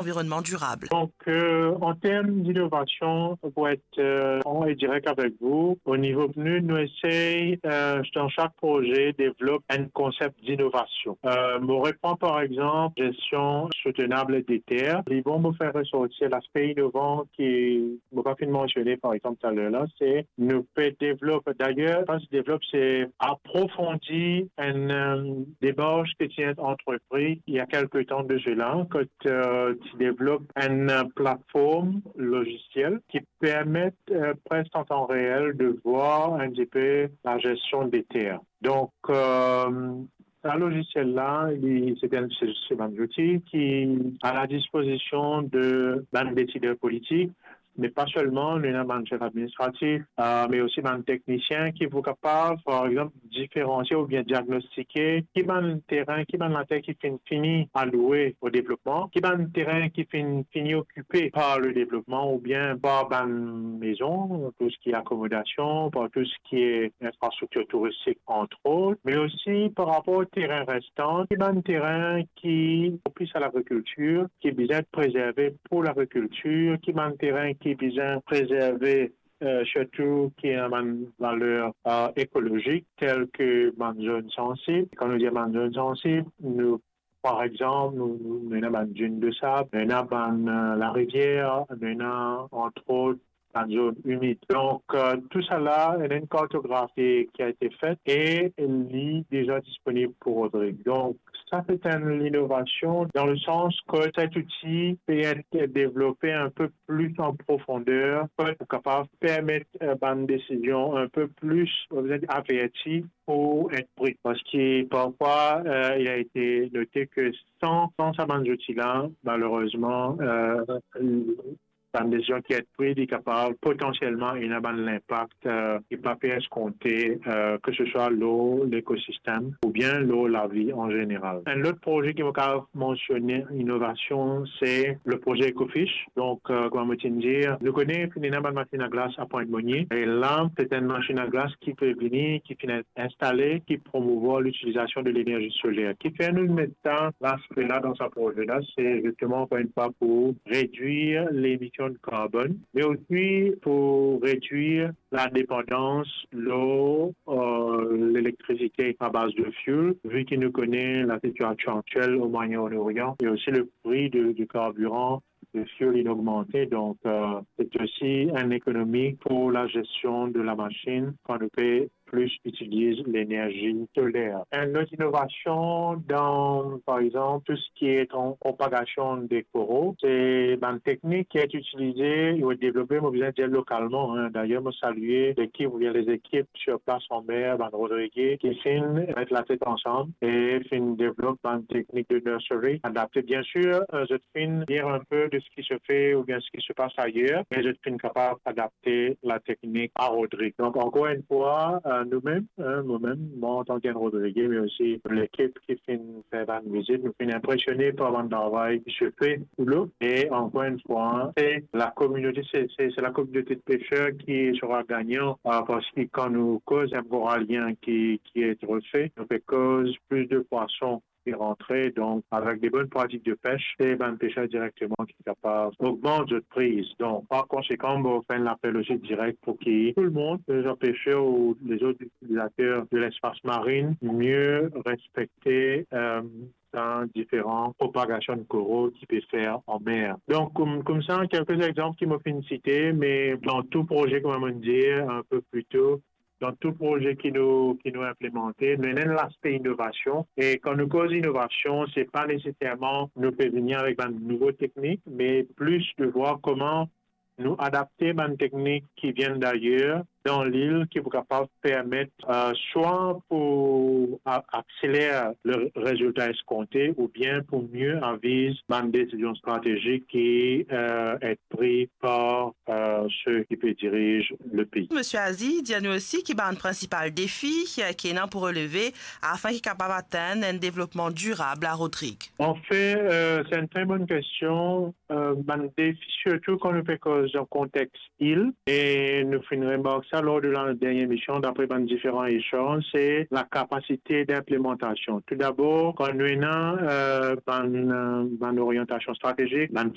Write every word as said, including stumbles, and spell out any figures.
environnement durable. Donc, euh, en termes d'innovation, pour être euh, franc et direct avec vous, au niveau PNUD, nous essayons euh, dans chaque projet développer un concept d'innovation. Euh, on reprend par exemple gestion soutenable des terres. Ils vont me faire ressortir l'aspect innovant qui, mo pa finn mansione par exemple taler la, se nou pe devlop, d'ailleurs, kan se devlop, se aprofondi enn euh, demars ki ti inn antrepri il y a quelque temps de cela, kot euh, ti devlop enn euh, plateforme logicielle qui permet euh, presque en temps réel de voir un petit peu la gestion des terres. Donc, euh, sa logiciel la, li, se enn, se, se bann zouti ki a la dispozision de bann desidèr politik, me pa selman, nou ena bann sef administratif, euh, me osi bann teknisien ki pou kapav, par exanp, diferansie oubien diagnostike ki bann terin, ki bann later ki finn fini aloue o devlopman, ki bann terin ki finn fini okipe par le devlopman oubien par bann mezon, tou seki akomodasion, par tou seki infrastriktir touristik, entre autres, me osi par rapor terin restan, ki bann terin ki propis a lagrikiltir, ki bizin prezerve pou lagrikiltir, ki bann terin ki bizin prezerve, euh, sirtou ki ena bann valer euh, ekolozik, tel ke bann zone sansib. Kan nou dir bann zone sansib, nou, par exanp, nou, nou, nou ena bann dune de sab, nou ena bann euh, larivier, nou ena, entre autres, bann zone imid. Donc, euh, tout sa la, ena enn kartografi ki a ete fet e li deza disponib pou Rodrig. Donc, sa se enn linovasion dan le sans ke set outi pe et devlope inpe plis an profonder, pou kapav permet euh, bann desizion inpe plis, euh, averti pou et pri. Parski parfwa, euh, il a été noté que sans, sans sa bann zouti la, malerezman, euh, bann desizion ki et pri, li kapav potansielman ena bann linpak euh, ki pa pe eskonte, euh, ke se swa lor lekosistem oubien lor lavi an zeneral. Enn lot proze ki mo kapav mansione inovasion, se le proze Ecofish. Donc, euh, kouma mo ti dir, nou kone finn ena bann masinn a glas a Pointe Monier. E la, se enn masinn a glas ki pe vini, ki finn instale, ki promouvoir l'utilisation de l'énergie solaire. Kifer nou met sa, laspe la dan sa proze la, se zisteman, ankor enn fwa, pou redwir lemision de karbonn, me osi pou redwir la depandans lor euh, lelektrisite a baz de fioul, vi ki nou kone lasitiasion aktiel o Moyen-Orient e osi le pri de, de karbiran, de fioul, inn ogmante. Donc, euh, se osi enn ekonomi pou lagestion de la masinn kan nou pe plis itiliz lenerzi soler. Enn lot inovasion dan, par exanp, tou seki et an propagasion de koro, se bann teknik ki et itilize, ki et devlope, mo bizin dir lokalman, hein. Dayer, mo salie lekip oubien lezekip sir plas anmer, bann Rodrige, ki finn met latet ansam e finn devlop bann teknik de nursery adapte. Bien sûr, euh, zot finn lir inpe de seki se fe oubien seki se pas ayer, me zot finn kapav adapte lateknik a Rodrig. Donc, ankor enn fwa, euh, nou mem, hein, mo mem, mwa antan ki enn Rodrige, me osi lekip ki finn fer bann vizit, nou finn inpresione par bann travay ki se fe sou lo. E ankor enn fwa, se lakominote, se, se, se lakominote de peser ki sera gagnan, euh, parski kan nou koz enn koralien ki, ki et refe, nou pe koz plis de pwason ki rantre, donk avek de bonn pratik de pes, se bann peser direkteman ki kapav ogmant zot priz. Donk, par konsekan, mo fer enn lapel osi direk pou ki tou lemonn, lezot peser ou lezot itilizater de lespas marin, mie respekte, euh, sa diferan propagasion de koro ki pe fer an mer. Donk, koum, koumsa, kelke exanp ki mo finn site, me dan tou proze, kouma mo dir inpe pli to, dan tou proze ki nou, ki nou inplimante, nou ena enn laspe inovasion. E kan nou koz inovasion, se pa neseserman nou pe vini avek bann nouvo teknik, me plis de vwar kouma nou adapte bann teknik ki vinn dayer dan lil, ki pou kapav permet, euh, swa pou a-, akseler le rezilta eskonte, oubien pou mie aviz bann desizion stratezik ki, euh, et pri par, euh, se ki pe diriz le pei. Misie Azi, dir nou osi ki bann prinsipal defi ki, ki ena pou releve afin ki kapav atenn enn devlopman dirab a Rodrig. Anfet, euh, se enn tre bonn kestion. Euh, bann defi, sirtou kan nou pe koz dan kontex il, e nou finn remark sa lor de la dernie emision, dapre bann diferan echanz, se lakapasite dinplimantasion. Toudabor, kan nou ena, euh, bann, euh, bann oryantasion stratezik, bann